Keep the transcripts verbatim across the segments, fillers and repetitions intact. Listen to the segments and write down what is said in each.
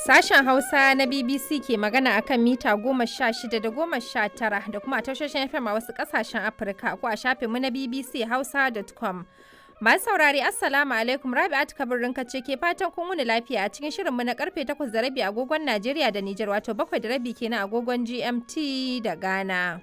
Sashen Hausa na B B C ke magana akan mita goma sha shida da goma sha tara da kuma a tashoshin F M a wasu ƙasashen Afirka ko a shafinmu na B B C Hausa dot com. Masu saurare, Assalamu alaikum, Rabi'atu Kabir ce ke fatan kun wuni lafiya a cikin shirinmu na karfe takwas da rabi agogon Najeriya da Nijar, wato bakwai da rabi kenan agogon G M T da Ghana.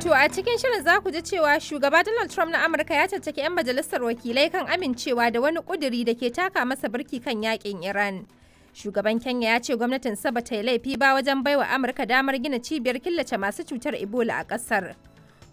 To a cikin shirin za ku ji cewa shugaba Donald Trump na Amurka ya caccaki 'yan majalisar wakilai kan amincewa da wani kuduri da ke taka masa birki kan yakin Iran. Shugaban Kenya ya ce gwamnatin sa bata yi laifi ba wajen baiwa Amurka damar gina cibiyar killace masu cutar Ebola a kasar.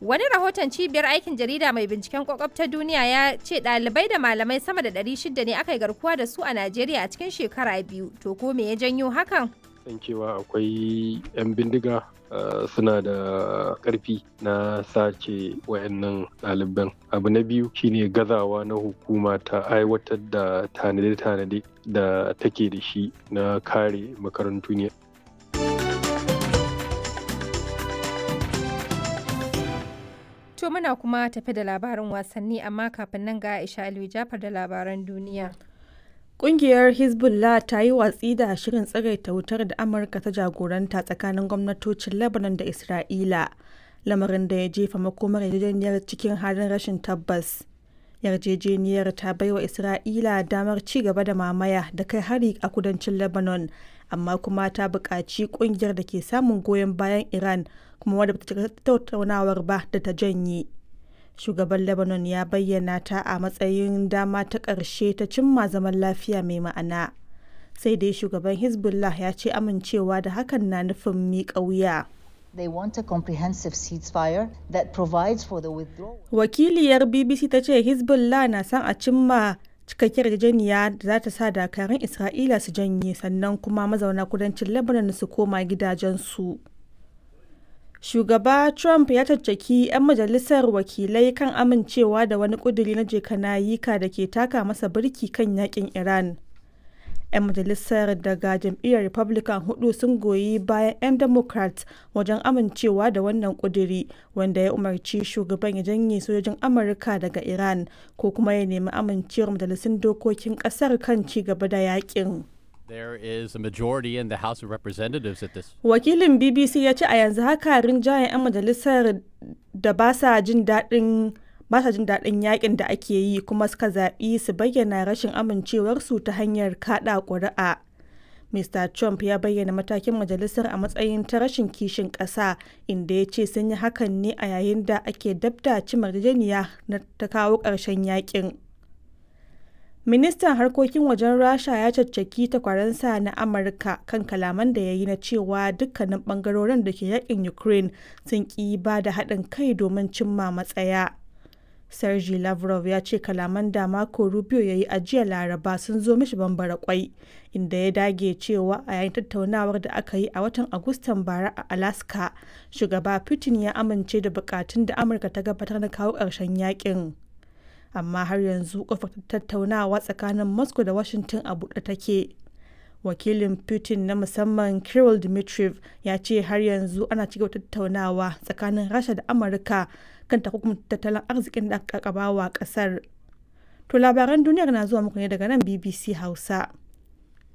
Wani rahoton cibiyar aikin jarida mai binciken kwakwab ta duniya ya ce ɗalibai da malamai sama da ɗari shida ne aka yi garkuwa da su a Najeriya a cikin shekara biyu. To ko me ya janyo hakan? San cewa akwai 'yan bindiga uh, suna da ƙarfi na sace wayannan ɗaliban. Abu na biyu shine gazawa na hukuma ta aiwatar da tanade-tanade da take da shi na kare makarantu ne. To muna kuma tafi da labarin wasanni, amma kafin nan ga Aisha Aliyu Jafar da labaran duniya. Ƙungiyar Hezbollah ta yi watsi da shirin tsagaita wutar da Amurka ta jagoranta tsakanin gwamnatocin Lebanon da Isra'ila, lamarin da ya jefa makomar yarjejeniyar cikin halin rashin tabbas. Yarjejeniyar ta baiwa Isra'ila damar ci gaba da mamaya da kai hari a kudancin Lebanon, amma kuma ta buƙaci ƙungiyar da ke samun goyon bayan Iran kuma wadda bata cika tattaunawar ba da ta janye. Shugaban Lebanon ya bayyana ta a matsayin dama ta ƙarshe ta cimma zaman lafiya mai ma'ana. Sai dai shugaban Hezbollah ya ce amincewa da hakan na nufin miƙa wuya. They want a comprehensive ceasefire that provides for the withdrawal. Wakiliyar B B C ta ce Hezbollah na son a cimma cikakkiyar yarjejeniya da za ta sa dakarun Isra'ila su janye, sannan kuma mazauna kudancin Lebanon su koma gidajensu. Shugaba Trump ya caccaki 'yan majalisar wakilai kan amincewa da wani ƙuduri na jekanayika da ke taka masa birki kan yakin Iran. 'Yan majalisar daga jam'iyyar Republican hudu sun goyi bayan 'yan Democrat wajen amincewa da wannan ƙuduri, wanda ya umarci shugaban ya janye sojojin Amurka daga Iran ko kuma ya nemi amincewar majalisun dokokin ƙasar kan ci gaba da yakin. There is a majority in the House of Representatives at this. Wakilin B B C ya ce a yanzu haka rinjayen 'yan majalisar da ba sa jin daɗin ba sa jin daɗin yakin da ake yi kuma suka zaɓi su bayyana rashin amincewarsu ta hanyar kaɗa ƙuri'a. Mister Trump ya bayyana matakin majalisar a matsayin ta rashin kishin ƙasa, inda ya ce sun yi hakan ne a yayin da ake dabda cimma yarjejeniya na ta kawo ƙarshen yakin. Ministan harkokin wajen Rasha ya caccaki takwaransa na Amurka kan kalaman da ya yi na cewa dukkanin bangarorin da ke yakin Ukraine sun ki ba da haɗin kai domin cimma matsaya. Sergei Lavrov ya ce kalaman da Marco Rubio ya yi a jiya Laraba sun zo mishi bambara kwai, inda ya dage cewa a yayin tattaunawar da aka yi a watan Agustan bara a Alaska, shugaba Putin ya amince da bukatun da Amurka ta gabatar na kawo ƙarshen yakin. Amma har yanzu kofar tattaunawa tsakanin Moscow da Washington a buɗe take. Wakilin Putin na musamman Kirill Dmitriev ya ce har yanzu ana cigaba tattaunawa tsakanin Rasha da Amurka kan takunkumin tattalin arzikin da aka wa kasar. To labaran duniyar na zuwa muku ne daga nan B B C Hausa.